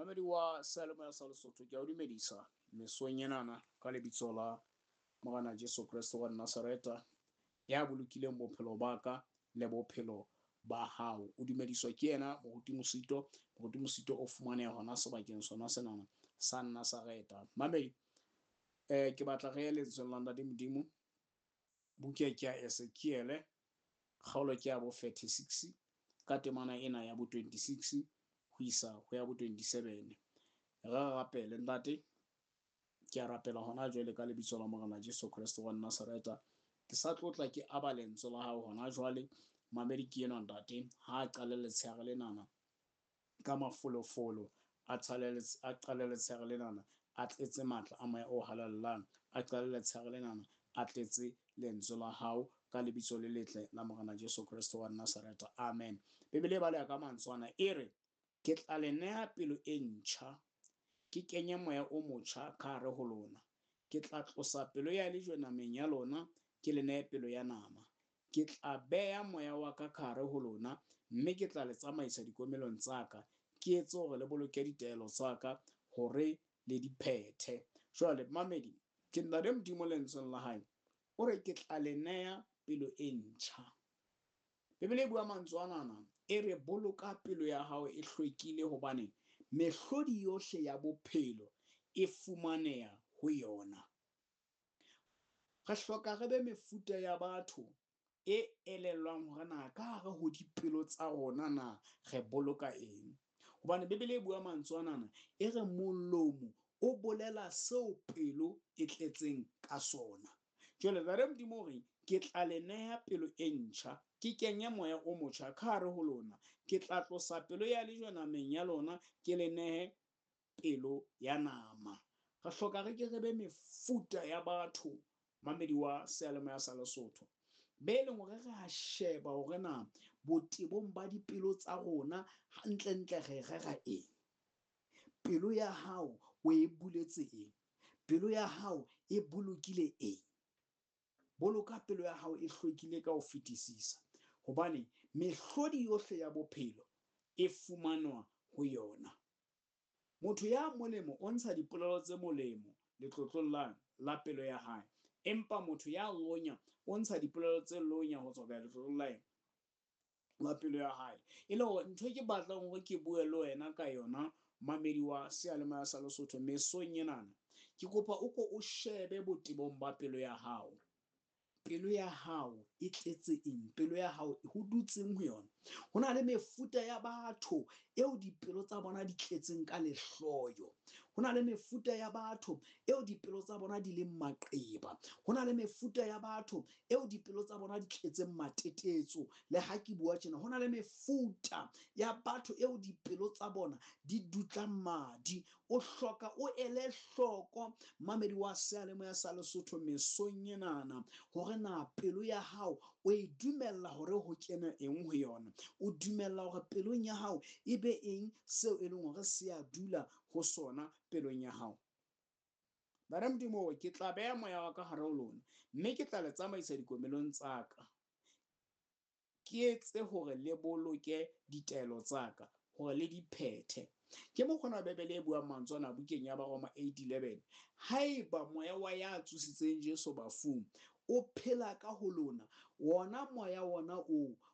Mamedi wa seyalemoya sa Lesotho, ke a o dumedisa mesong enana ka lebitso la Morena Jesu Kreste wa Nazareta, ya bolokileng bophelo ba ka le bophelo ba hao. O dumediswa ke yena Moruti Mosito. Moruti Mosito o fumaneha hona sebakeng sona senana sa Nazareta. Mamedi, ke batla re ye lentsweng la Ntate Modimo. Buka ke ya Ezekiele, kgaolo ke ya bo 36 ka temana ena ya bo 26 ho isa ho ya bo 27. Re rapele. Ntate, ke a rapela hona jwale ka lebitso la Morena Jesu Kreste wa Nazareta. Ke sa tlotla ke aba lentswe la hao hona jwale. Mamedi ke enwa ntate, ha a qale letshehare lenana ka mafolofolo, a qale letshehare lenana a tletse matla a moya o halalelang, a qale letshehare lenana a tletse lentswe la hao ka lebitso le letle la Morena Jesu Kreste wa Nazareta. Amen. Bibele e baleha ka mantswe ana, e re, ke tla le neha pelo e ntjha, ke kenye moya o motjha ka hare ho lona. Ke tla tlosa pelo ya lejwe nameng ya lona, ke le nehe pelo ya nama. Ke tla beha moya wa ka ka hare ho lona, mme ke tla le tsamaisa dikomelong tsa ka, ke etse hore le boloke ditaelo tsa ka, hore le di phethe. Jwale mamedi, ke Ntate Modimo lentsweng la hae, o re ke tla le neha pelo e ntjha. Bibele e bua mantswe anana, e re boloka pelo ya hao e hlwekile, hobane mehlodi yohle ya bophelo e fumaneha ho yona. Re hloka re be mefuta ya batho e elellwang hore na ka hare ho dipelo tsa rona na re boloka eng. Hobane Bibele e bua mantswe anana, e re molomo o bolela seo pelo e tletseng ka sona. Jwale Ntate Modimo o re, ke tla le neha pelo e ntjha, ke kenye moya o motjha ka hare ho lona. Ke tla tlosa pelo ya lejwe nameng ya lona, ke le nehe pelo ya nama. Re hloka re ke re be mefuta ya batho, mamedi wa seyalemoya sa Lesotho, be leng hore re a sheba hore na botebong ba dipelo tsa rona hantlentle re rera eng. Pelo ya hao o e buletse eng? Pelo ya hao e bolokile eng? Boloka pelo ya hao e hlwekile ka ho fetisisa, hobane mehlodi yohle ya bophelo e fumanwa ho yona. Motho ya molemo o ntsha dipolelo tse molemo letlotlong la pelo ya hae, empa motho ya lonya o ntsha dipolelo tse lonya ho tswa letlotlong la pelo ya hae. E le hore ntho e ke batlang hore ke bue le wena ka yona, mamedi wa seyalemoya sa Lesotho, mesong enana, ke kopa o ko o shebe botebong ba pelo ya hao. Pelo ya hao e tletse eng? Pelo ya hao ho dutseng ho yona? Ho na le mefuta ya batho eo dipelo tsa bona di tletseng ka lehloyo. Ho na le mefuta ya batho eo dipelo tsa bona di leng maqeba. Ho na le mefuta ya batho eo dipelo tsa bona di tletseng matetetso. Le ha ke bua tjena, ho na le mefuta ya batho eo dipelo tsa bona di dutlang madi. O hloka o ele hloko, mamedi wa seyalemoya sa Lesotho, mesong enana, hore na pelo ya hao o e dumella hore ho kene eng ho yona. O dumella hore pelong ya hao e be eng seo e leng hore se a dula ho sona pelong ya hao. Ntate Modimo, ke tla beha moya wa ka hare ho lona, mme ke tla le tsamaisa dikomelong tsa ka. Ke etse hore le boloke ditaelo tsa ka, hore le di phethe. Ke mokgona Bibele e buang mantswe ana bukeng ya Baroma 8:11. Haeba moya wa ya tsositseng Jesu bafung o phela ka ho lona, wona moya wona oo